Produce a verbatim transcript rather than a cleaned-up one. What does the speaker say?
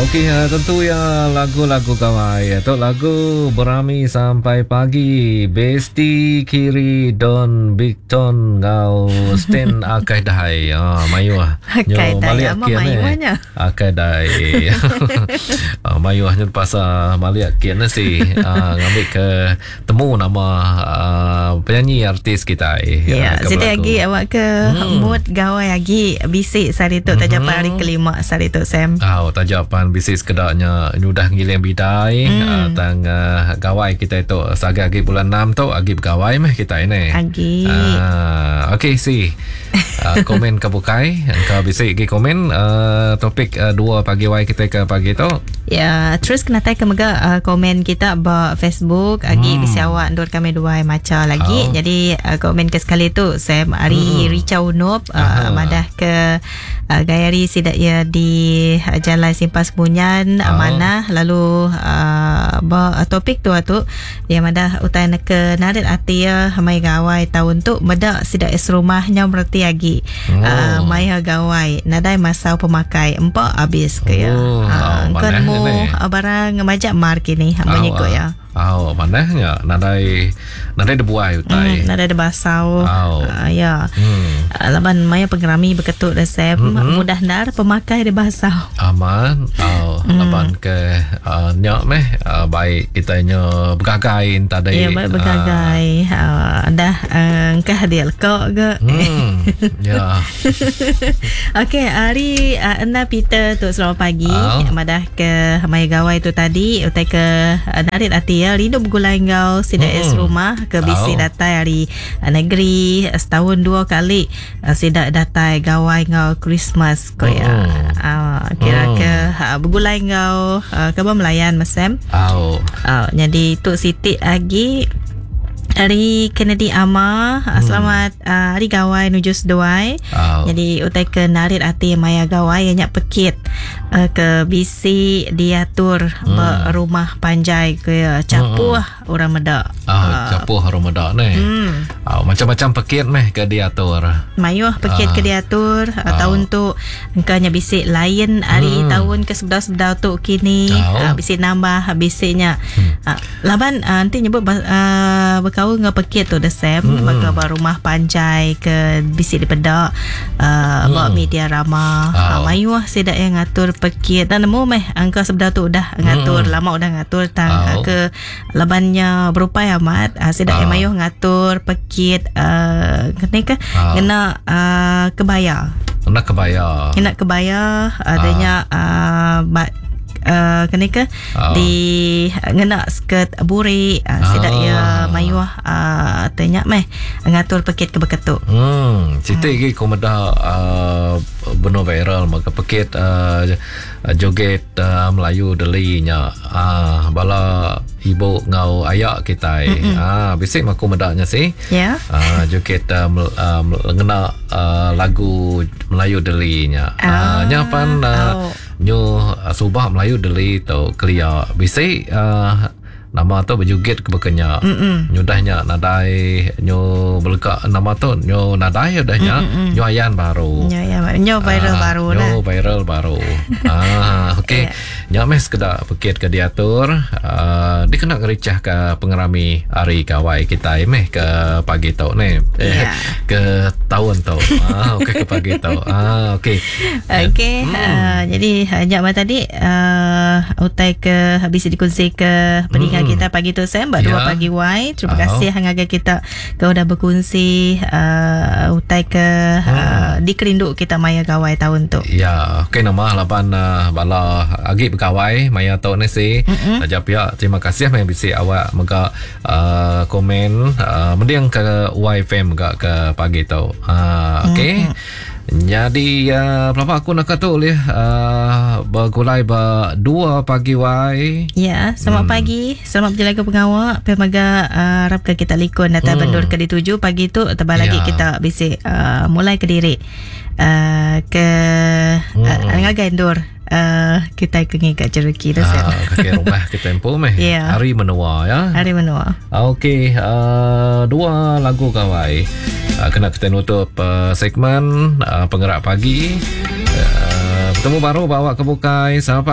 Okey, uh, tentu ya lagu-lagu gawai. Itu lagu berami sampai pagi. Besti Kiri Don Bigton ngau Sten Akai Dai. Ah, mayuh. Akai Dai, ama mayuhnya. Akai Dai. Ah, mayuhnya pasal maliak kian si. Ah, ngambil ke temu nama uh, penyanyi artis kita. Ya, jadi lagi awak ke hmm. mood gawai lagi bisik sehari tu tajapan hari kelima sehari tu Sam. Ah, oh, tajapan bisik sekedaknya nyudah ngiling bidai hmm. uh, tang uh, gawai kita itu saga agi bulan enam tu agi bergawai meh kita ini. Agi. Uh, okey si. Uh, komen ke bukai engkau bisik gi komen uh, topik uh, dua pagi wai kita ke pagi tu. Ya, terus kena tai ke mega uh, komen kita ba Facebook agi hmm. bisi awak ndur kami dua maca lagi. Oh. Jadi uh, komen ke sekali tu Sam ari hmm. Richa Unup uh, madah ke uh, gayari sidak ya di uh, Jalan Simpas Bunyan oh. Mana lalu uh, ba uh, topik tu tu dia madah utai nak ke narit ati ya mai gawai tahun tu medak sidak es rumahnya merti agi oh. uh, mai gawai nadai masau pemakai empak habis ke ya. Oh, uh, kau nemu barang majak mar kini hamba nyikut ya. Oh, manahnya nadai nadai debuai utai. Hmm, nadai debasau. Oh. Uh, ya. Hmm. Uh, laban maya pengerami berketuk resep mm-hmm. mudah ndar pemakai debasau. Aman. Oh, mm. Laban ke uh, nyak meh uh, baik kita nya bergagai tadi. Ya, baik bergagai. Uh, uh, dah uh, engkah dia lekok ke. Hmm. Ya. Okey, hari uh, Enda Peter tu selamat pagi. Oh. Madah ke maya gawai tu tadi utai ke uh, narit ati ya rindu bergulai ngau sidak hmm. es rumah ke bisi oh. datai hari negeri setahun dua kali sidak datai gawai ngau Christmas ko ya. Hmm. Uh, kira hmm. ke uh, bergulai ngau uh, ke Melayan mesem. Oh. Uh, jadi tu sitik lagi hari Kennedy Ama, hmm. selamat uh, hari gawai nuju seduai. Oh. Jadi utai ke narit ati maya gawai nyak pekit uh, ke bisi diatur hmm. berumah panjai ke capuh hmm. orang medak. Ah, uh, capuh orang medak ni. Hmm. Oh, macam-macam pekit meh ke diatur. Mayuh pekit uh. ke diatur uh, oh. tahun tu engkanya bisik lain hari hmm. tahun ke sebedau-sebedau tu kini oh. uh, bisik nambah bisiknya. Hmm. Uh, laban uh, nanti nyebut uh, bekau ngau pekit tu the same hmm. maka baru rumah panjai ke bisik di pedak uh, hmm. bawa media ramah oh. uh, mayuh sidak yang ngatur pekit dan nemu meh angka sebedau tu udah ngatur hmm. lama udah ngatur tang oh. ke labannya berupai amat uh, sidak oh. yang mayuh ngatur pekit uh, kena ke oh. kena uh, kebaya kena kebaya kena kebaya adanya uh, uh, Uh, kena ke oh. di ngena skirt burik uh, sidak ah. ya mayuh uh, tanya meh ngatur pekit ke beketuk. Hmm, citik hmm. gi komeda uh, benar viral maka pekit uh, joget uh, Melayu delinya uh, bala ibu ngau ayak kita. Ah, bisik maku medaknya sih. Ya. Yeah. Uh, joget uh, uh, ngena uh, lagu Melayu delinya. Ah, uh, nya pan uh, oh. nyu uh, subah Melayu deli tu kelia bisik uh, nama tu berjoget ke bekenya. Nyudahnya nadai nyu belekak nama tu nyu nadai udahnya nyu ayan baru. Nyu ayan baru. Nyu viral ah, baru nyu lah. viral baru. ah okey. Yeah. Nya meh sekedak pekit ke diatur uh, dikena ngericah ke pengerami hari gawai kita meh ke pagi tu ni. Eh, Yeah. ke tahun tu. Ah okey ke pagi tu. Ah okey. Okey, Hmm. uh, jadi jap tadi uh, utai ke habis dikongsi ke pendengar Hmm. kita pagi tu Sam buat Ya. dua pagi wai. Terima Oh. kasih hangaga kita ke udah berkongsi uh, utai ke Hmm. uh, dikerinduk kita maya gawai tahun tu. Ya, okey nama laban uh, bala agi bergawai maya tu ni si. Saja pihak terima kasih mai bisi awak mega uh, komen uh, mending ke Y F M mega ke pagi tu. Uh, okey. Jadi uh, pelapa aku nak kata oleh uh, bergulai ba dua pagi wai. Ya, selamat Hmm. pagi. Selamat berjalan ke pengawak. Pemaga uh, harap ke kita likun datang Hmm. bandur ke dituju pagi tu tebal lagi Ya. kita bisik uh, mulai ke diri uh, ke Hmm. uh, ngagai endur uh, kita ke ngikat jereki tu Sam. Ah, kaki rumah ke tempo meh. Ya. Hari menua ya. Hari menua. Okey, uh, dua lagu gawai. Uh, kena kita nutup uh, segmen uh, penggerak pagi. Uh, bertemu baru bawa ke bukai. Selamat pagi.